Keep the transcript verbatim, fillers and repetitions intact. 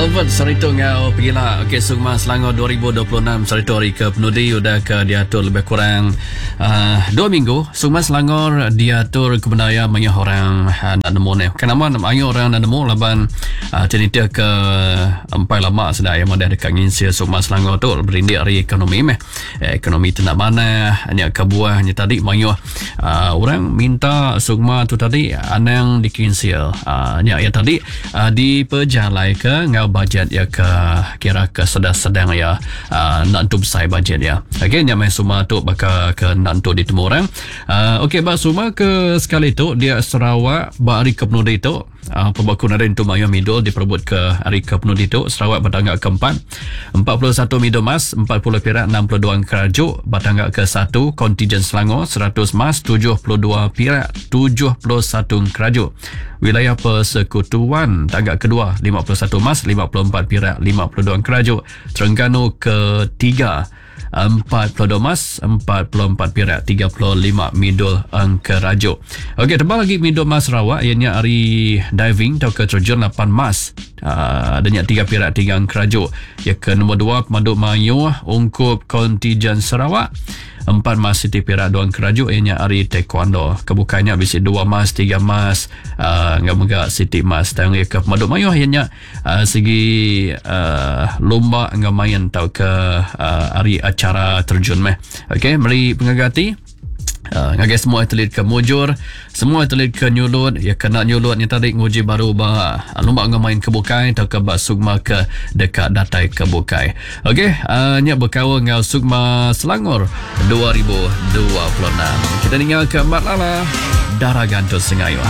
Albert saritu enggau pegila. Okey, Sukma Selangor dua ribu dua puluh enam saritu hari ke penudi udah ke diatur lebih kurang uh, dua minggu. Sukma Selangor diatur kebendaya mayuh orang uh, nak nemu ni. Kenapa mayuh orang nak nemu laban uh, cerita ke empai lama sudah yang ada dekat nginsil Sukma Selangor tu berindik hari ekonomi meh. Eh, ekonomi tu nak mana hanya kebuahnya tadi mayuh uh, orang minta Sukma tu tadi anang dikinsil. Uh, nya ya tadi uh, dipejalai ke ngau bajet ya ke kira ke sedang-sedang ya uh, nak tu besar bajet ya. Okey, nya mai Sukma tu bakal ke nak tu ditemu orang. Uh, okey, bak Sukma ke sekali tu dia Sarawak bak hari ke penudi tu uh, pembaku naren tu mayuh midul diperebut ke hari ke penudi tu Sarawak bertangga keempat empat puluh satu midul emas, empat puluh perak, enam puluh dua keraju. Bertangga ke satu kontingen Selangor seratus emas, tujuh puluh dua perak, tujuh puluh satu keraju. Wilayah Persekutuan tangga kedua lima puluh satu emas, lima puluh empat perak, lima puluh dua keraju. Terengganu ketiga empat puluh dua emas, empat puluh empat perak, tiga puluh lima midul engkeraju. Okey, tebal lagi midul emas Sarawak ianya hari diving atau ke terjun lapan emas. Uh, adanya tiga perak, tiga engkeraju. Ya ke nombor dua pemandu mayuh ungkup kontingen Sarawak empat emas, siti perak, dua engkeraju ianya hari taekwondo. Kebukanya bisi dua emas, tiga emas, uh, ngau mega siti emas. Dan ya ke pemandu mayuh ianya uh, segi uh, lomba ngau main atau ke uh, hari acara terjun meh. Okey, meri pengagati. Uh, ngagai semua atlet ke mujur, semua atlet ke nyulut, ya kena nyulut ni tadi nguji baru ba lomba ngau main ke bukai atau ke ba Sukma ke dekat datai ke bukai. Okey, uh, nya berkaul ngau Sukma Selangor dua ribu dua puluh enam. Kita tinggal ke Mat Lala, Darah Gantung Sengayuh.